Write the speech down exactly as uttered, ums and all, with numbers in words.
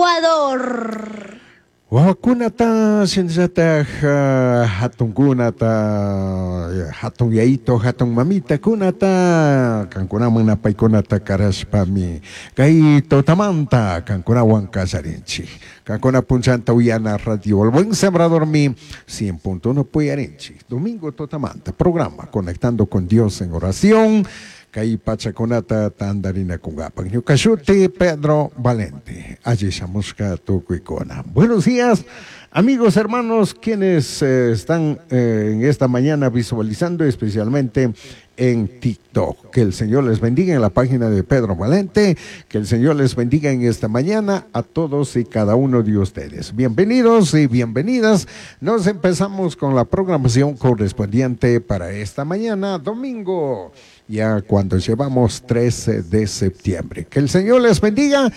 Ecuador. Wawakunata shinallatak uh, hatunkunata hatun yayito hatun mamitakunata kankunaman napaykunata karashpami kay tutamanta kankunawan kallarinchik kankuna punchanta uyana radio El Buen Sembradormi cien punto uno puyarinchik domingo tutamanta programa Conectando con Dios en Oración kay pachakunata tantarinakunkapak. Ñuka shuti Pedro Valente. Alli shamushka tukuykuna. Buenos días, amigos, hermanos, quienes eh, están eh, en esta mañana visualizando, especialmente en TikTok. Que el Señor les bendiga en la página de Pedro Valente. Que el Señor les bendiga en esta mañana a todos y cada uno de ustedes. Bienvenidos y bienvenidas. Nos empezamos con la programación correspondiente para esta mañana, domingo, ya cuando llevamos trece de septiembre. Que el Señor les bendiga.